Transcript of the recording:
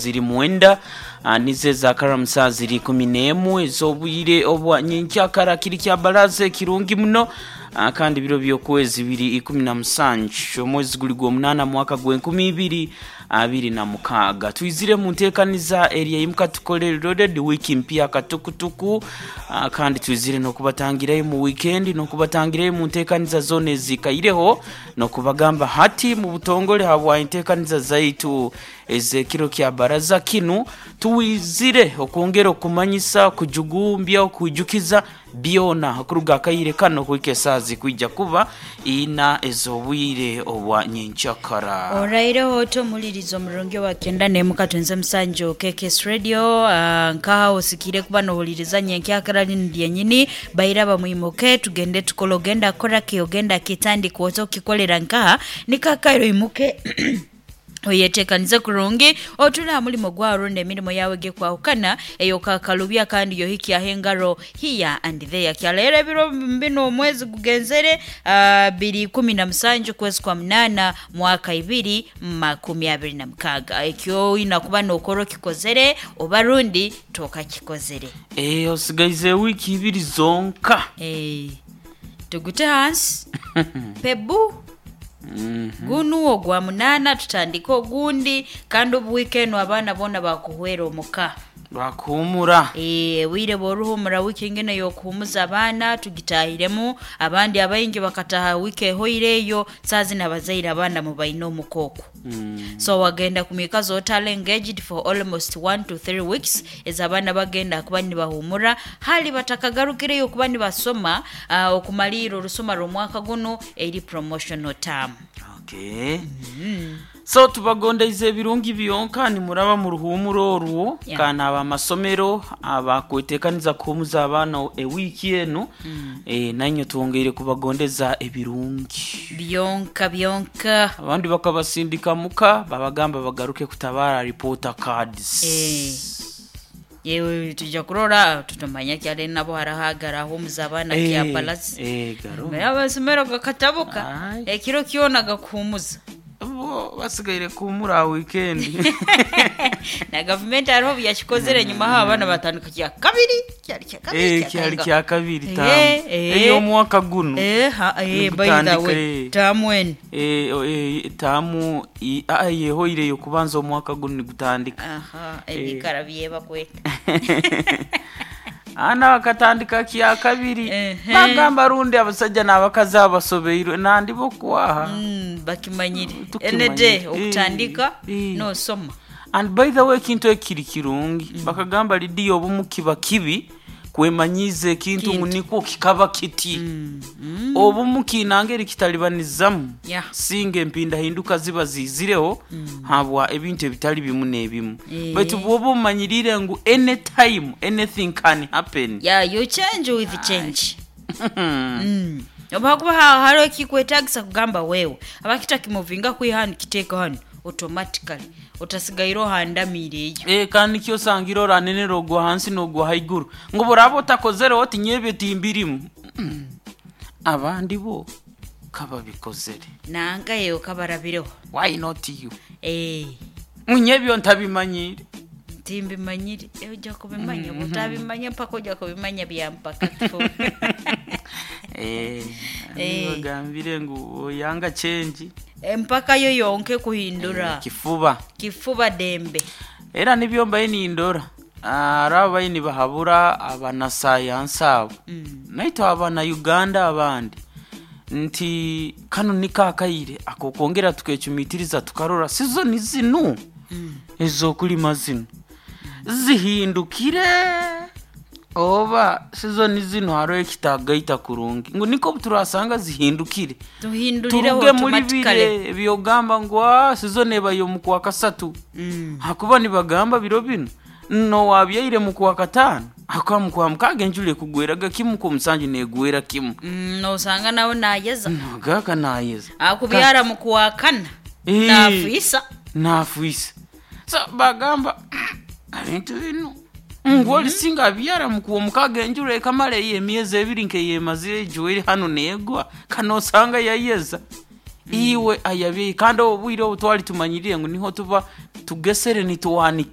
Ziri mwenda nizo ezakaramu saaha ziri 11 ez'obwire obwa nyenkyakara kiri kya baraza ekirungi muno kandi biro by'okwezi biri 17 omwezi guri gw'omunaana mwaka gw'enkumi ibiri abiri na mukaaga. Twizire mu nteekaniza eri eimuka tukore Loaded wiiki mpya katukutuku kandi twizire n'okubatangirayo mu wiikendi n'okubatangirayo mu nteekaniza zoona ezikaireho n'okubagamba hati mu butongore habwa enteekaniza zaitu ez'ekiro kya baraza kinu twizire okwongera okumanyisa, okujugumbya, okwijukiza byona okuruga akaire kano kuhika esaaha zikwija kuba ina ez'obwire obwa nyenkyakara. Oraireho oti omulirizi omurungi owa kyenda n'emu katunze musanju KKS Radio nkaha osikiire kuba nohuliriza nyenkyakara linu lyenyini baira bamwimuke tugende tukole ogenda kukora ki ogenda kitandika oti okikolera nkaha niko akaire oimuke Oyeteekanize kurungi otuule aha mulimo gwaawe rundi emirimo yaawe eg'ekwahukana ey'okakalubya kandi y'ohikyaho engaro here and there. Kyaleero ebiro binu omwezi gugenzere biri ikumi na musanju kwezi kwa munaana mwaka ibiri makumi abiri na mukaaga. Eky'oina kuba nookora okikozere oba rundi tokakikozere. Eeh osigaize wiiki ibiri zonka. Eeh tugute hansi pebu. Gunu ogwa munaana tutandike ogundi kandi obu wiiki enu abaana boona baakuhwera omu ka. Baakuhuumura. Eeh obwire bw'oruhuumura wiiki nginu ey'okuhuumuza abaana tugitaahiremu, abandi abaingi bakataaha wiiki ehoire eyo, saaha zinu abazaire abaana mubaine omuka okwo. So wagenda kumwikaza otali engaged for almost one to three weeks ez'abaana bagenda kuba nibahuumura hali batakagarukireyo kuba nibasoma okumaliira orusoma rw'omwaka gunu eri promotional term. Okay. So tubagondeize ebirungi byonka nimuraba mu ruhuumuro orwo kandi ab'amasomero abakwetekaniza kuhuumuza abaana ewiiki enu nainywe twongeire kubagondeza ebirungi. Byonka byonka. Abandi bakabasindika muka babagamba bagaruke kutabara reporter cards. Yewe twija kurora tutamanya ki hare nabo hariho agarahumuza abaana kya palasi. Garumu. Amasomero gakatabuka Ai. ekiro kyona gakuhumuza. Bo basigaire kuhumura aha weekend. Na gavumenti hariho obu yakikozire enyima aho abaana batandika kya kabiri kyari kya kabiri Eh, kya kyari kainga. kya kabiri Eh, tamu. eh. Ey'omwaka guno. Eh, ha, eh, by the Nigutandika, way eh. tamu enu. Eh, eh, tamu yehoire yokubanza omwaka guno nigutandika. Aha, ebikara byebakweta. Ana bakatandika kya kabiri. Ehe. Bagamba rundi abasajja n'abakazi abasobeirwe nandi bo kwaha. Bakimanyire. Tukimanyire. Any day okutandika Eh. nosoma. And by the way ekintu ekiri kirungi bakagamba lidiya obumu kiba kibi kwemanyiiza ekintu ngu Kintu. nikwo kikaba kiti obumu kiina ngeri kitalibanizamu Yeah. singa empindahinduka ziba ziizireho habwa ebintu ebitali bimu n'ebimu Eh. baitu bwoba omanyiriire ngu anytime anything can happen. Yeah, you change with change. Oba hakuba hariho ekikwetagisa kugamba wewe aba kitakimuvinga kwiha hanu kiteeke hanu automatically otasigaire ohandamiire eyo. Eh, kandi nikyo osangire oranenera ogwa hansi n'ogwa haiguru ngu boraba otakozere oti nyowe timbirimu. Abandi bo kababikozere. Nanka eyo kabarabireho. Why not you? Eh, Ngu nyebyo ntabimanyire. timbimanyire ojja kubimanya otabimanya mpaka ojja kubimanya bya mpaka tu. Eh, Eh. bagambire ngu oyanga change. Empaka yo yonka ekuhindura. Kifuba. Kifuba dembe. Era nibyo mbaye nindora. Hariho abaye nibahabura abanasayansi abo. Naitwe abana Uganda abandi nti kanu niko akaire akokwongera tukecumitiriza tukarora sizoni zinu ez'okulima zinu zihindukire oba sizoni zinu hariho ekitagaita kurungi ngu niko obuturasanga zihindukire Tuhindurireho turuge muri automatically. bire ebyogamba ngu "Ah, sizoni ebayo mu kwa kasatu hakuba nibagamba biro binu nowabyaire mu kwa kataano hakuba mu kwa mukaaga enjura ekugweraga kimu ku musanju neegwera kimu Nosanga nawe nayeza. nagaaka nayeza Akubyara mu kuwakana. Eh. Naafisa. naafwisa so bagamba ebintu binu ngu orisinga abyara mu kwa mukaaga enjura ekamara eyo emyezi ebiri nkeyemazire ejwaire hanu neegwa kanosanga yayeza iwe ayabyaire kandi obwire obu twari tumanyirire ngu niho tuba tugesere nituwanika.